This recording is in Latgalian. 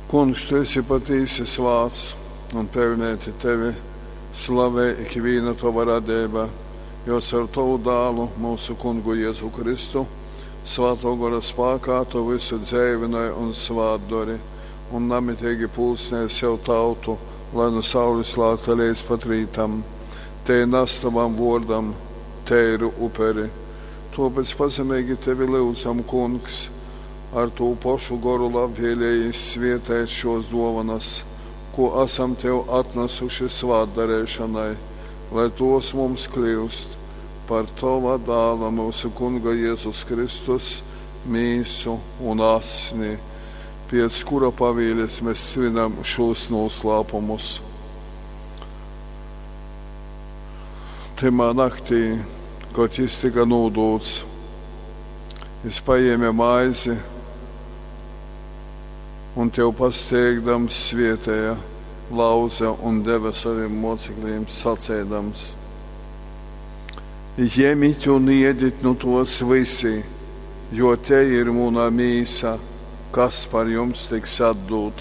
Kungs, tu esi patīsi svāts un peļneiti tevi slavej ikvīna tova radeiba, jo caur tovu dālu, myusu Kungu Jezu Kristu, Svātō Gora spākā tu vysu dzeivynoj un svātdori, un namiteigi pulcnej sev tautu, lai nu saulis lākta leidz pat rītam tei nas tovam vuordam teiru uperi. Tuopec pazemeigi tevi lyudzam, Kungs, ar tū pošu goru labvielejīs svieteit šuos duovanas, kū asam tev atnasuši svātdareišonai, lai tuos mums kliust par tova dāla, myusu Kunga Jezus Kristus, mīsu un asni, piec kura pavielis mes svinam šūs nūslāpumus. Tymā naktī, kod jis tyka nūdūts, jis pajēme maizi un tev pasteigdams svietēja, lauze un deve sovim mocekļiem saceidams: Jemit un iedit nu tos vysi, jo tei ir muna mīsa, kas par jums tiks atdūta.